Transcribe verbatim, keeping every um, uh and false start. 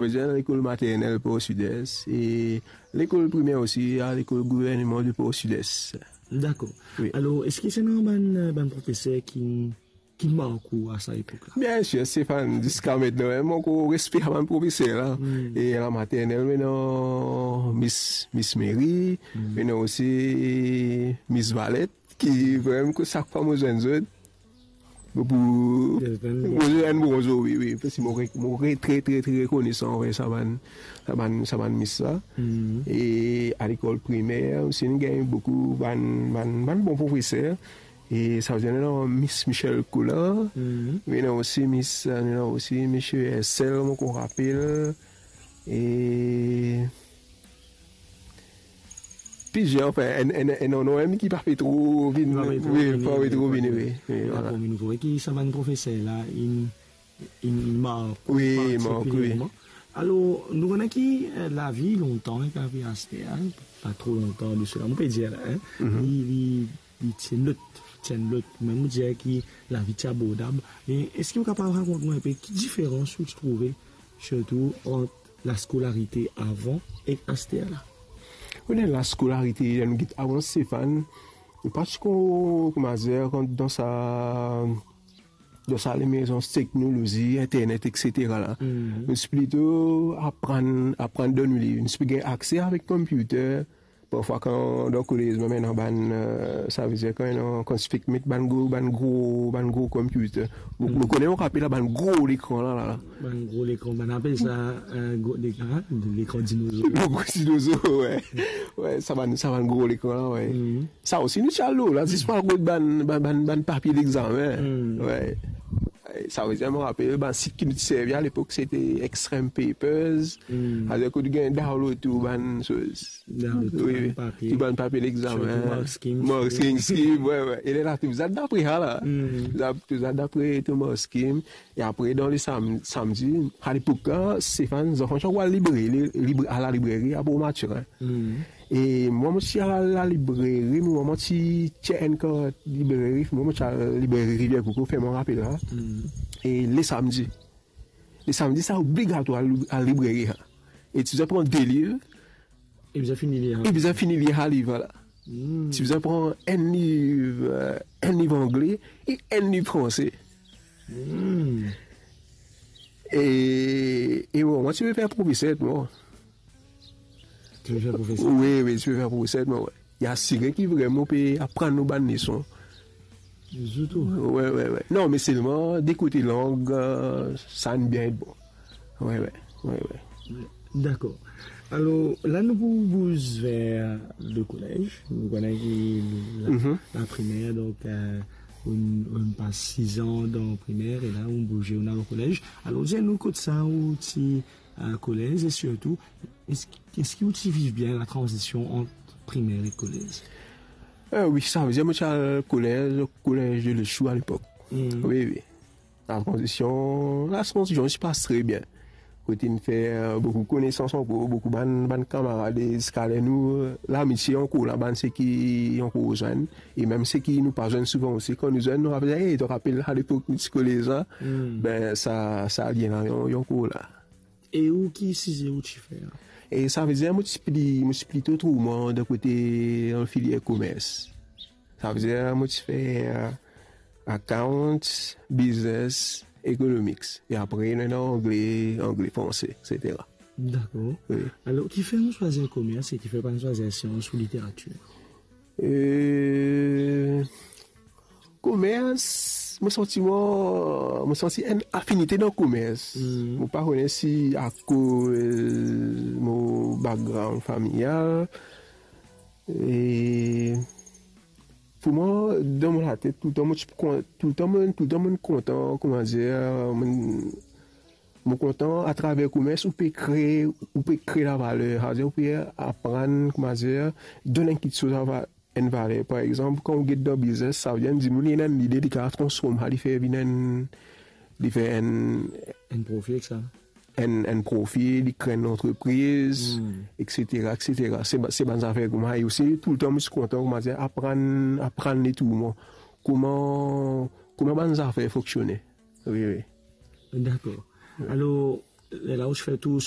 Mo ti al lekol maternel Port Sud Est e lekol primer osi, a lekol gouverneman de Port Sud Est. Dakor. Wi. Alor, eski ti ena bann, bann profeser ki, ki mark ou a sa epok la? Bien sir, Stéphane, ziska mintenan, mem mo ankor respe bann profeser la. Hmm. E la maternel, mo ena Miss, Miss Mary, hmm, mo ena osi Miss Valette, ki vremem, sak fwa mo zwenn zot, mo pou, mo zwenn bronzo, wi, wi, paski mo re-, mo re-, tre, tre, tre rekonesan anver sa bann, sa bann, sa bann mis la. Mhm. E a lekol primer osi, nou gagn boukou bann, bann, bann bon profeser. E savedir, nou ena Miss Michel Coulard, mhm, nou ena osi Miss, nou ena osi Misie Hercel, mo ankor rapel. E plizier, anfin, enn, enn, enn, enn, enn, enn ki pa pe tro vini, wi, pa pe tro vini, wi, wi, vwala. Dakor, me nou trouve ki sa bann profeser la, inn, inn mark ou, wi, mark, wi, partikilerman. Alor, nou kone ki, eh, lavi lontan, ek lavi aster, pa tro lontan de sela, mo pe dir la, hein, mhm, li, li, li ti enn lot, ti enn lot. Mem mo dir ki lavi ti abordab. Me eski ou kapav rakont mwa enpe ki diferans ou ti trouve, sirtou ant laskolarite avan ek aster la? Ou kone laskolarite, ler nou get avan, Stéphane, nou pa ti ankor, kouma dir, rant dan sa, dan sa lemerzans teknolozi, internet, et cetera la. Mhm. Nou ti plito aprann, aprann dan nou liv. Nou ti pe gagn akse avek computer, parfwa kan dan kolez, mo ena bann, eh, savedir kan ena, kan ti fek met bann gro, bann gro, bann gro computer. Mo, mo kone, mo rapel la, bann gro lekran la, la, la. Bann gro lekran, bann apel sa, eh, gro lekran, lekran dinozo. Lekran dinozo, wi. Wi, sa bann, sa bann gro lekran la, wi. Mhm. Sa osi nou ti al lor la, zis pou al rod bann, bann, bann, bann papie legzamin. Hmm. Wi. Savedir, mo rapel, bann sit ki nou ti servi alepok, se te Extreme Papers. Hmm. Aster kot ou gagn download tou bann soz. Download tou, wi, bann papie. Tou bann papie legzamin. Sirtou Markskim. Markskim, wi, wi. E lerla tou bizin al dapre sa la. Hmm. Tou bizin al dapre tou Markskim. E apre, dan le sam-, samdi, alepok la, Stéphane, zanfan ti ankor al libreri, li-, libr-, al lalibreri a Bourg Mathurin. Mhm. E mwa, mo ti al lalibreri, mwa, mo ti tir enn kart libreri, mwa, mo ti al libreri Rivière Coco, fer mwa rapel la. Mhm. E le samdi. Le samdi, sa obligatwar al, al libreri, ha. E ti bizin pran de liv, E bizin fini lir, ha? E bizin fini lir sa liv la. Hmm. Ti bizin pran enn liv, eh, enn liv angle e enn liv franse. Hmm. E, e bon, mwa ti pe fer profeser, mwa. Ti pe fer profeser? Wi, wi, ti pe fer profeser, mwa, wi. Li asire ki vremem pe aprann nou bann leson. Zoutou. Wi, wi, wi. Non, me selman, de kote lang, eh, sa inn bien et bon. Wi, wi, wi, wi. Dakor. Alor, la nou pou bouz ver le kolez. Nou kone ki la, mhm, la primer, donk, eh, ou, ou pas sis an dan primer, e la ou bouze, ou al kolez. Alor, dir nou kot sa ou ti, eh, kolez, e sirtou, eski, eski ou ti viv bien la tranzision ant primer e kolez? Eh, wi, savedir, mo ti al kolez, kolez de Lechou alepok. Hmm. Wi, wi. La tranzision, la tranzision ti pas tre bien. Kot inn fer, eh, boukou konesans ankor, boukou bann, bann kamarad, e ziska ler nou, eh, lamitie ankor la, bann seki ankor zwenn, e mem seki nou pa zwenn souvan osi, kan nou zwenn, nou rapel, "Ey, to rapel alepok nou ti kolez la?" Hmm. Be, sa, sa lien la, li, li ankor la. E ou, ki size ou ti fer? E savedir, mo ti pli, mo ti plito trouv mwa dan kote, dan filier komers. Savedir, mo ti fer, eh, accounts, business, economics. E apre, nou ena angle, angle, franse, et cetera. Dakor. Wi. Alor, kifer ou swazir komers e kifer pa swazir sians ou literatir? Eh, komers, mo santi mwa, mo santi enn afinite dan komers. Hmm. Mo pa kone si akoz mo background familial. E pou mwa, dan mo latet, toultan mo ti kon-, toultan mo, toultan mo kontan, kouma dir, mo, mo kontan atraver komers, ou pe kree, ou pe kree lavaler, savedir ou pe aprann, kouma dir, donn enn kiksoz a va-, enn valer. Par exanp, kan ou get dan biznes, savedir enn dimoun li ena enn lide, li kapav transform sa, li fer vinn enn, li fer enn, enn profi ek sa. Enn, enn profi, li kree enn lantrepriz, hmm, et cetera, et cetera. Se ba-, se bann zafer kouma, e osi, toultan mo ti kontan, kouma dir, aprann, aprann letour mwa. Kouma, kouma bann zafer fonksione. Wi, wi. Dakor. Wi. Alor, lerla ou ti fer tou